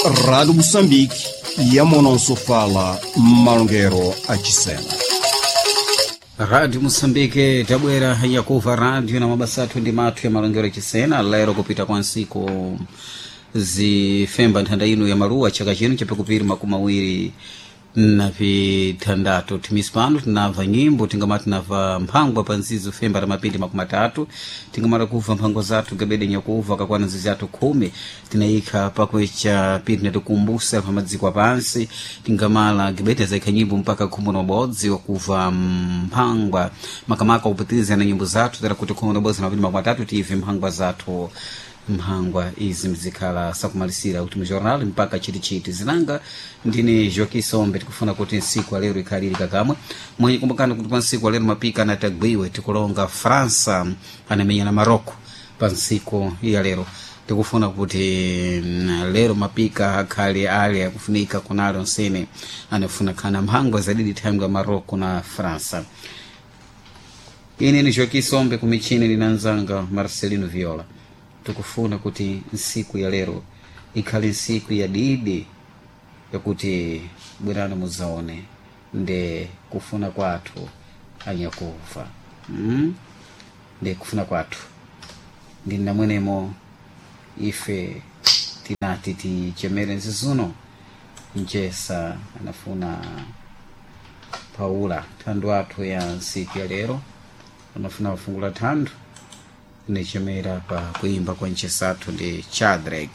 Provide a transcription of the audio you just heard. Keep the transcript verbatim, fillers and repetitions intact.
Rádio Moçambique, yamononsofala malongero achisena. Rádio Moçambique tabwera yakuva rádio na mabasa athu ndi mathu ya malongero achisena. Lero kupita kwa nsiku zifemba nthanda ino ya maluwa chaka chino chapakupiri makumi awiri na vithandatu. Timisi pano tinamva nyimbo, tingamati tinamva mphangwa pa nzizo femba la mapindi makumi atatu, tingamala kuva mphangwa zathu gabede nyakuva kakwana nzizi athu khumi tinayikha pakwecha pindi natikumbuse pa madziko apansi. Tingamala gabede azayikha nyimbo mpaka khumi na ubodzi wakuva mphangwa makamaka kupitiriza na nyimbo zathu tera kuti khumi na ubodzi na mapindi makumi atatu tive mphangwa zathu. Mphangwa izi mzikhala sakumalisira kuti mujornal mpaka chitichiti zinanga. Ndine Joaquim Sombe, tikufuna kuti nsiku alero ikhaliri kakamwe mwenye. Kumbukani kuti pa nsiku alero mapika anatagwiwe, tikulonga França anamenya na Marocco pa nsiku ya lero. Tikufuna kuti mm, lero mapika akhale ali akufunika kunali onsene anafuna khana mphangwa zadidi thangwe ya Marocco na França. Ine ni Joaquim Sombe, kumichini linanzanga Marcelino Viola. Tikufuna kuti nsiku ya lero ikhale nsiku ya didi yakuti bwerani muzaone nde kufuna kwathu anyakuva mm? Nde kufuna kwathu ndi namwenemo ife tinati tichemere nzizuno mchesa anafuna paula thandu athu ya nsiku ya lero anafuna kufungula thandu nichemera pa kuimba kwa nchesathu ndi Chadrek.